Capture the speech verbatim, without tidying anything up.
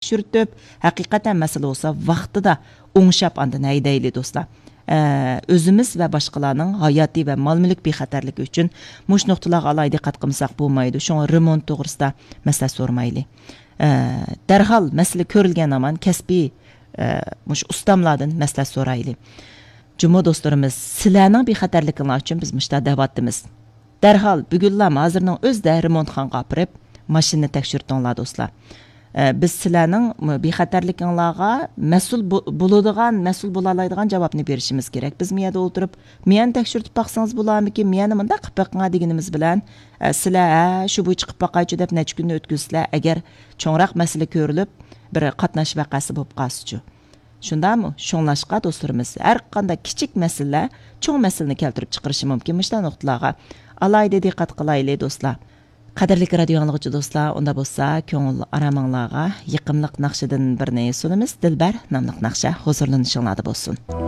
تەكشۈرتۈپ، ھەقىقەتەن مەسىلە بولسا ۋاقتىدا ئوڭشاپ ئاندىن ھەيدەيلى، دوستلار. ئە، ئۆزىمىز ۋە باشقىلارنىڭ ھاياتىي ۋە مال مۈلۈك بىخەتەرلىكى ئۈچۈن مۇشۇ نۇقتىلارغا ئالاھىدە دىققەت قىلمىساق بولمايدۇ. شۇڭا رېمونت توغرىسىدا مەسلىھەت سورىمايلى. ئە، دەرھال مەسىلە كۆرۈلگەن ھامان كەسپىي، ئە، مۇشۇ ئۇستاملاردىن مەسلىھەت سورايلى. جۇمۇ دوستلىرىمىز، سىلەرنىڭ بىخەتەرلىكىڭلار ئۈچۈن بىز مۇشۇنداق دەۋاتىمىز. دەرھال بۈگۈنلا ھازىرنىڭ ئۆزىدە رېمونتخانىغا ئاپىرىپ، ماشىنىنى تەكشۈرتۈڭلار، دوستلار. ئە، بىز سىلەرنىڭ بىخەتەرلىكىڭلارغا مەسئۇل بو-، بولىدىغان، مەسئۇل بولالايدىغان جاۋابنى بېرىشىمىز كېرەك. بىز مۇ يەردە ئولتۇرۇپ، مۇ يەرنى تەكشۈرتۈپ باقسىڭىز بولارمىكىن، مۇ يەرنى مۇنداق قىلىپ بېقىڭا دېگىنىمىز بىلەن، ئە، سىلەر، ھە، شۇ بويىچە قىلىپ باقايچۇ دەپ نەچچە كۈننى ئۆتكۈزسىلەر، ئەگەر چوڭراق مەسىلە كۆرۈلۈپ، بىر قاتناش ۋەقەسى بولۇپ قالسىچۇ. شۇنداقمۇ؟ شۇڭلاشقا دوستلىرىمىز، ھەر قانداق كىچىك مەسىلىلەر چوڭ مەسىلىنى كەلتۈرۈپ چىقىرىشى مۇمكىن. مۇشۇنداق نۇقتىلارغا ئالاھىدە دىققەت قىلايلى، دوستلار. قەدىرلىك رادىيو ئاڭلىغۇچى دوستلار، ئۇندا بولسا كۆڭۈل ئارامىڭلارغا يېقىملىق ناخشىدىن بىرنى سۇنىمىز. دىلبەر ناملىق ناخشا ھۇزۇرلىنىشىڭلاردا بولسۇن.